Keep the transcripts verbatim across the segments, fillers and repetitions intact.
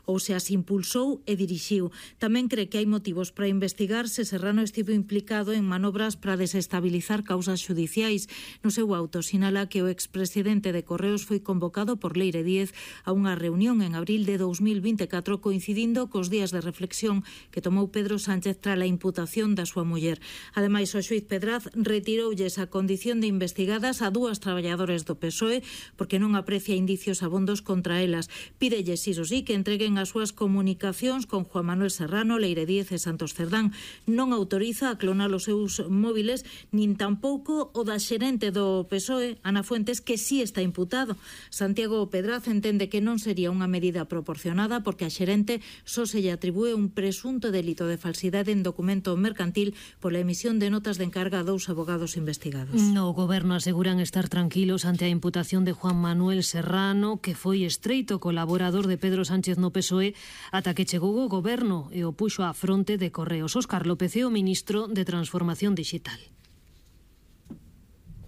ou se as impulsou e dirixiu. Tamén cre que hai motivos para investigar se Serrano estivo implicado en manobras para desestabilizar causas xudiciais. No seu auto sinala que o expresidente de Correos foi convocado por Leire Díez a unha reunión en abril de dous mil vinte e catro coincidindo cos días de reflexión que tomou Pedro Sánchez tras a imputación da súa muller. Ademais, o xuíz Pedraz retiroulles a condición de investigadas a dúas traballadores do P S O E porque non aprecia indicios abondos contra elas. Pídelles, iso sí, que entreguen as súas comunicacións con Juan Manuel Serrano, Leire Díez e Santos Cerdán. Non autoriza a clonar os seus móviles, nin tampouco o da xerente do P S O E, Ana Fuentes, que sí está imputado. Santiago Pedraz entende que non sería unha medida proporcionada porque a xerente só se lle atribúe un presunto delito de falsidade en documento mercantil pola emisión de notas de encarga a dous abogados investigados. No goberno aseguran estar tranquilos ante a imputación de Juan Manuel Serrano, que foi estreito colaborador de Pedro Sánchez no P S O E ata que chegou o goberno e o puxo á fronte de Correos. Óscar López é o ministro de Transformación Digital.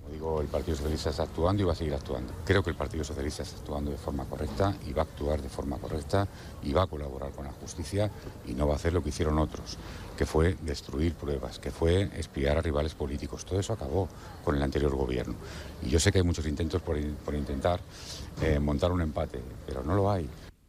Como digo, el Partido Socialista está actuando y va a seguir actuando. Creo que el Partido Socialista está actuando de forma correcta y va a actuar de forma correcta y va a colaborar con la justicia y no va a hacer lo que hicieron otros, que fue destruir pruebas, que fue espiar a rivales políticos. Todo eso acabó con el anterior gobierno. Y yo sé que hay muchos intentos por, por intentar eh, montar un empate, pero no lo hay.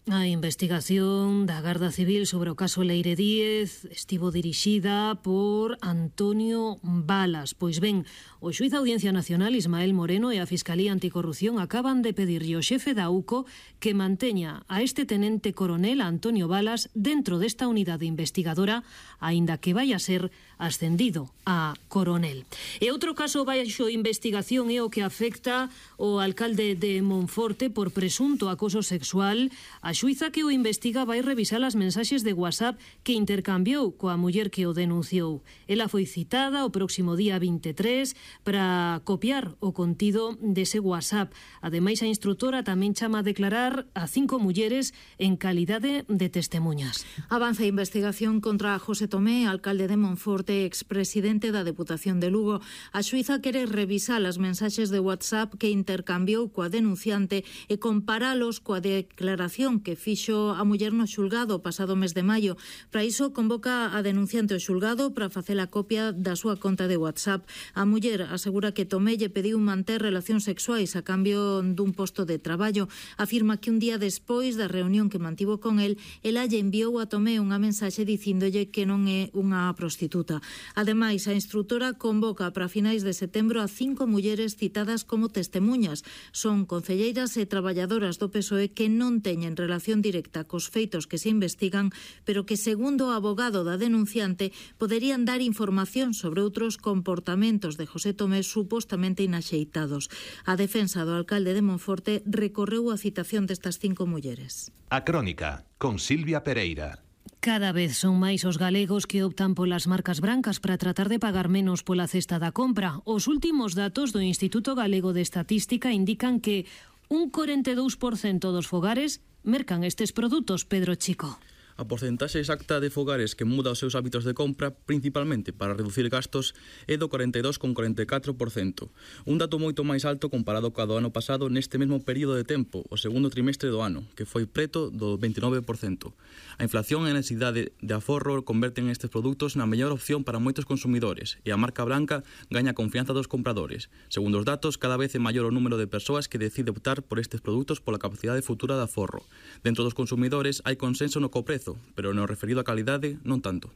A investigación da Garda Civil sobre o caso Leire Díez estivo dirixida por Antonio Balas. Pois ben, o xuíz da Audiencia Nacional Ismael Moreno e a Fiscalía Anticorrupción acaban de pedirlle ao xefe da U C O que manteña a este tenente coronel Antonio Balas dentro desta unidade investigadora, aínda que vai a ser ascendido a coronel. E outro caso baixo investigación é o que afecta o alcalde de Monforte por presunto acoso sexual. A xuíza que o investiga vai revisar as mensaxes de WhatsApp que intercambiou coa muller que o denunciou. Ela foi citada o próximo día vinte e tres para copiar o contido dese WhatsApp. Ademais, a instructora tamén chama a declarar a cinco mulleres en calidade de testemunhas. Avanza a investigación contra José Tomé, alcalde de Monforte, expresidente da Deputación de Lugo. A xuíza quere revisar as mensaxes de WhatsApp que intercambiou coa denunciante e comparalos coa declaración que fixo a muller no xulgado o pasado mes de maio. Para iso convoca a denunciante ao xulgado para facer a copia da súa conta de WhatsApp. A muller asegura que Tomé lle pediu manter relacións sexuais a cambio dun posto de traballo. Afirma que un día despois da reunión que mantivo con el, ela lle enviou a Tomé unha mensaxe dicíndolle que non é unha prostituta. Ademais, a instructora convoca para finais de setembro a cinco mulleres citadas como testemuñas. Son concelleiras e traballadoras do P S O E que non teñen relación directa cos feitos que se investigan, pero que, segundo o abogado da denunciante, poderían dar información sobre outros comportamentos de José Tomé supostamente inaxeitados. A defensa do alcalde de Monforte recorreu a citación destas cinco mulleres. A Crónica, con Silvia Pereira. Cada vez son máis os galegos que optan polas marcas brancas para tratar de pagar menos pola cesta da compra. Os últimos datos do Instituto Galego de Estatística indican que un corenta e dous por cento dos fogares mercan estes produtos, Pedro Chico. A porcentaxe exacta de fogares que muda os seus hábitos de compra, principalmente para reducir gastos, é do corenta e dous con corenta e catro por cento. Un dato moito máis alto comparado co do ano pasado neste mesmo período de tempo, o segundo trimestre do ano, que foi preto do vinte e nove por cento. A inflación e a necesidade de aforro converten estes produtos na mellor opción para moitos consumidores e a marca branca gaña confianza dos compradores. Segundo os datos, cada vez é maior o número de persoas que decide optar por estes produtos pola capacidade futura de aforro. Dentro dos consumidores hai consenso no coprezo, pero no referido a calidade, non tanto.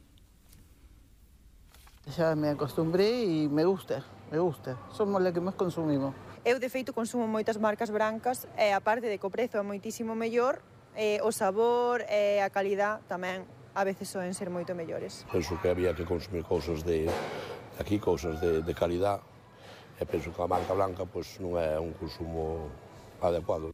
Xa me acostumbré e me gusta, me gusta. Somos la que máis consumimos. Eu, de feito, consumo moitas marcas brancas e, aparte de que o prezo é moitísimo mellor, eh, o sabor e a calidad tamén a veces soen ser moito mellores. Penso que había que consumir cousas de aquí, cousas de, de calidad, e penso que a marca blanca pois, non é un consumo adecuado.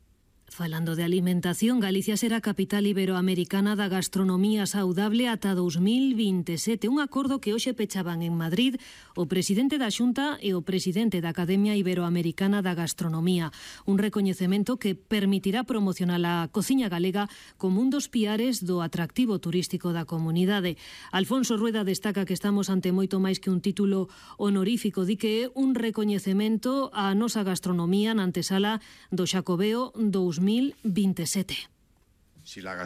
Falando de alimentación, Galicia será capital iberoamericana da gastronomía saudable ata dous mil vinte e sete, un acordo que hoxe pechaban en Madrid o presidente da Xunta e o presidente da Academia Iberoamericana da Gastronomía, un recoñecemento que permitirá promocionar a cociña galega como un dos piares do atractivo turístico da comunidade. Alfonso Rueda destaca que estamos ante moito máis que un título honorífico, di que é un recoñecemento á nosa gastronomía na antesala do Xacobeo dous mil vinte e sete. Si la